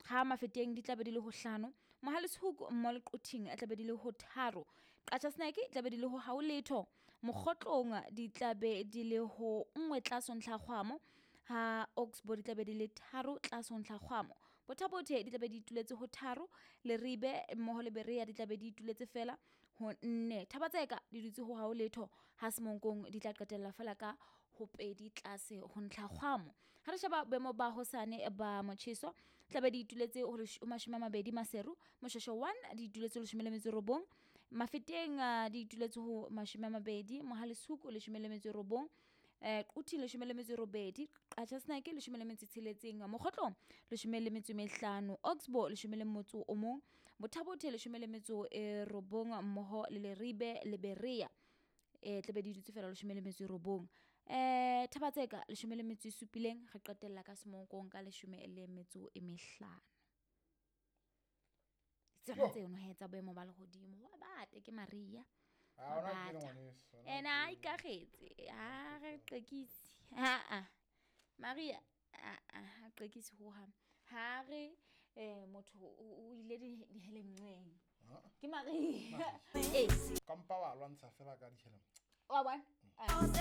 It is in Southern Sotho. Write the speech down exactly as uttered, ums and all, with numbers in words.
Ha Mafeteng di tlabe di le ho hlano. Mohale's Hoek mmoho le Quthing e tlabe di le ho tharo. Qacha's Nek e tlabe di le ho hao letho. Mokgotlong di tlabe di le ho nngwe tlase ho ntlha kgwamo. Ha Oxbow di tlabe di le tharo tlase ho ntlha kgwamo. Botha-Bothe di tlabe di ituletse ho tharo. Leribe mmoho le Berea di tlabe di ituletse fela ho nne. Thaba-Tseka di dutse ho hao letho. Ha Semonkong di tla qetella fela ka ho pedi tlase ho ntlha kgwamo. Ha re sheba boemo ba hosane ba motjheso, tlabe di ituletse ho mashome a mabedi Maseru, Moshweshwe one di ituletse ho leshome le metso e robong, Mafeteng ah, di ituletse ho mashome a mabedi, Mohale's Hoek leshome le metso e robong, eh Quthing leshome le metso e robedi, Qacha's Nek leshome le metso e tsheletseng, Mokgotlong leshome le metso e mehlano, Oxbow leshome le motso o mong, Botha-Bothe leshome le metso e robong mmoho le Leribe le Berea eh tlabe di dutse fela leshome le metso e robong. Eh Thaba-Tseka leshome le metso e supileng, re qetella ka Semonkong ka leshome le metso e mehlano. Tsona tseno he tsa boemo ba lehodimo. Wa bata ke Maria. Ah, Wa hona ke bata. ngwaneso, hona Ena a ikakgetse, ha re qekise. Ha a. Maria a a ha qekise ho hang. Ha re eh motho o o ile di dihelemnqeng. Ke Maria. Eh, Ka mpa wa lwantsha fela ka dihelem. wa bona? Ah.